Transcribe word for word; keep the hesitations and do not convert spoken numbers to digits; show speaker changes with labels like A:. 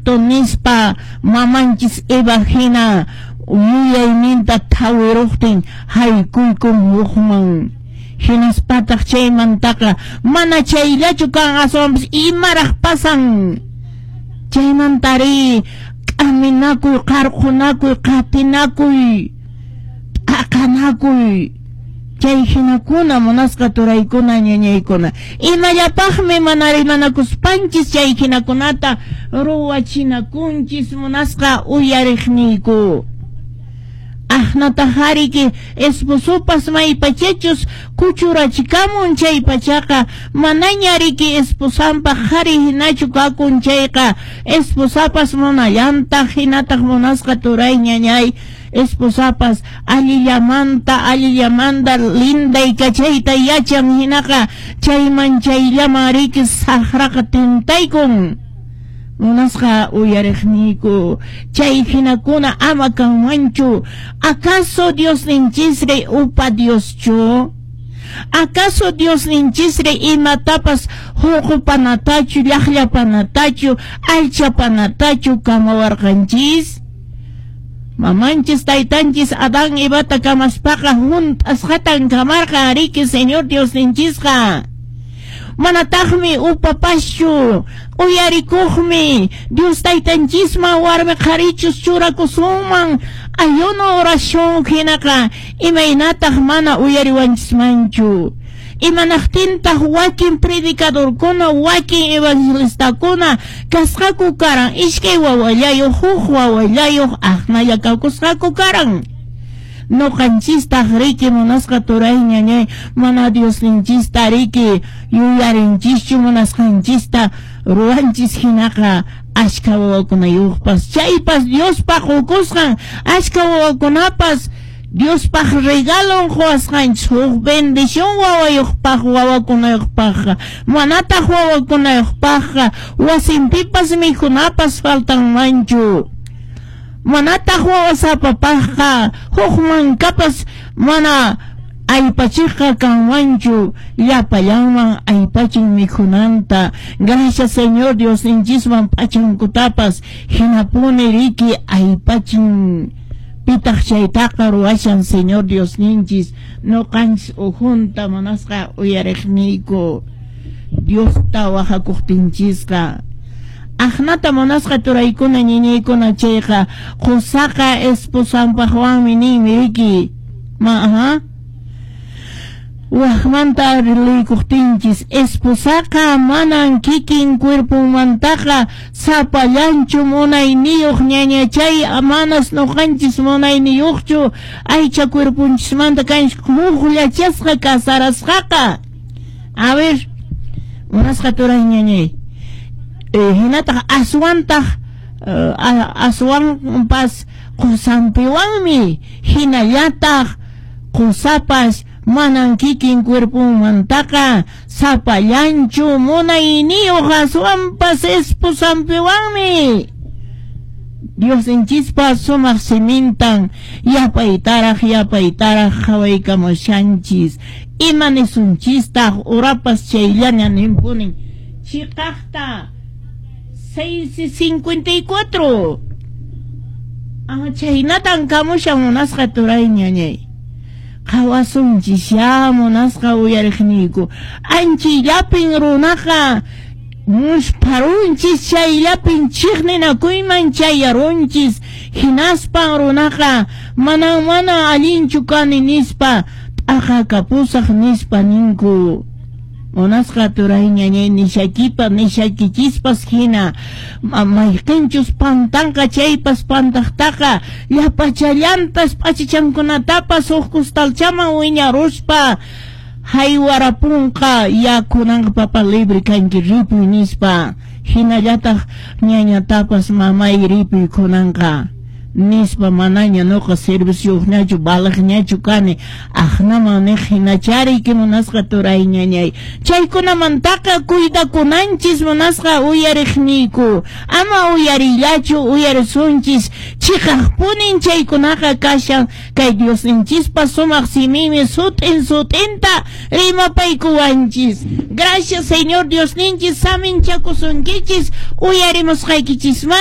A: Cierto nispa mamanchis Eva hina yuyayninta thawiruqtin haykuykun hukman. Hinaspataq chaymantaqa mana chayllachu kan, aswanpas imaraq pasan. Chaymantari k'aminakuy, qarqunakuy, qatinakuy, t'aqanakuy. Chay hinakuna munasqa turaykuna ñañaykuna. Imallapaqmi mana rimanakuspanchis chay hinakunata ruwachinakunchis munasqa uyariqniyku. Aqnataq esposopas maypachachus kuchurachikamun chay pachaqa manaña riki esposanpaq qhari hinachu kakun chayqa esposapas munallantaq hinataq munasqa turay ñañay esposapas allillamanta allillamanta linday kachayta yachan hinaqa chayman chayllaman riki saqraqa tintaykun. Munasqa uyariqniyku chay hinakuna ama kanmanchu. ¿Acaso Diosninchisri upa Dioschu? ¿Acaso Diosninchisri imatapas hurqupanatachu, llaqllapanatachu, allchapanatachu kamawarqanchis? Mamanchis taytanchis Adán Evata kamaspaqa hunt'asqatan kamarqan riki Señor Diosninchisqa. Manataqmi upapaschu, uyarikuqmi Dios taytanchisman warmi qharichus churakusunman ayuno oración hinaqa imaynataq mana uyariwanchismanchu. Imanaqtintaq wakin predicadorkuna, wakin evangelistakuna kasqaku karan iskay wawallayuq, huk wawallayuq aqnalla kawkusqaku karan. Noqanchistaq riki munasqa turay ñañay mana Diosninchista riki yuyarinchischu munasqanchista ruwanchis hinaqa ashka wawakunayuqpas chaypas Diospaq qukusqan ashka wawakunapas Diospaq regalon quwasqanchis huk bendición wawayuqpaq wawakunayuqpaqqa manataq wawakunayuqpaqqa wasinpipas mikhunapas faltanmanchu. Manataq wawasapapaqqa huk mankapas mana aypachiqqa kanmanchu llapallanman aypachin mikhunanta. Gracias Señor Diosninchisman p'achankutapas hinapuni riki aypachin. Pitaq chaytaqa ruwashan Señor Diosninchis noqanchis ujunta munasqa uyariqniyku Diosta wahakuqtinchisqa. Aqnata munasqa turaykuna ñiñaykuna chayqa qusaqa esposanpaqwanmi ninmi riki ma aha waqmanta liykuqtinchis esposaqa manan kikin cuerponmantaqa sapallanchu munayniyuq ñañachay manas noqanchis munayniyuqchu aycha cuerponchismanta kanchis hukllachasqa casarasqaqa. A ver munasqa turay ñañay hinataq aswantaq aswanpas qusanpiwanmi hinallataq qusapas manan kikin cuerponmantaqa sapallanchu munayniyuq aswanpas esposanpiwanmi. Diosninchispa sumaq simintan yapaytaraq yapaytaraq qhawaykamushanchis. Ima nisunchistaq urapas chayllaña ninpunin chiqaqta seis cincuenta y cuatro. Ah, chaynatan kamushan munasqa turay ñañay. Qhawasunchis ya munasqa uyariqniyku. Anchillapin runaqa muspharunchis chayllapin chiqninakuyman chayarunchis. Hinaspan runaqa manan mana allinchu kani nispa t'aqakapusaq nispa ninku. Munasqa turay ñañay nishakipa nishakichispas hina mayqinchus pantanqa chaypas pantaqtaqa llapachallantas p'achichankunatapas huk kustalchaman wiñaruspa haywarapunqa ya kunanqa papa libre kanki ripuy nispa hinallataq ñañatapas mamay ripuy kunanqa nispa manaña noqa servicioqñachu balaqñachu kani aqnaman niq hinachariki munasqa turay ñañay. Chaykunamantaqa cuidakunanchis munasqa uyariqniyku. Ama uyarillachu uyarisunchis chiqaqpunin chaykunaqa kashan kay Diosninchispa sumaq simimi sut'in sut'inta rimapaykuwanchis. Gracias Señor Diosninchis saminchakusunkichis uyarimusqaykichisman.